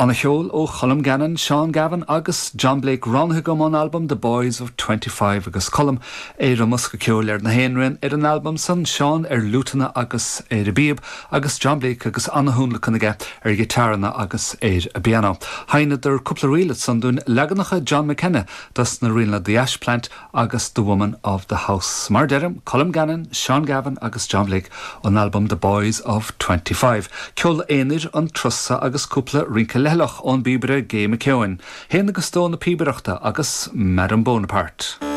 Ana-cheol ó Cholm Gannon, Seán Gavin agus John Blake roghnaithe agam ón albam The Boys of 25 agus Colm ar an mbosca ceoil ar na hainrian ar an albam san, Seán ar fhliúiteanna agus ar an bpíob agus John Blake agus ana-thionlacan aige ar ghiotárranna agus ar an bpianó. Sheinneadar cúpla ríl ansan dúinn, leaganacha John McKenna dos na ríleanna The Ash Plant agus The Woman of the House. Mar a deirim, Colm Gannon, Seán Gavin agus John Blake ón albam The Boys of 25. Ceol aonair an turas so agus cúpla rince leithleach ón bpíobaire Gay McKeown. Fhéin agus dó na píobaireachta agus Madame Bonaparte.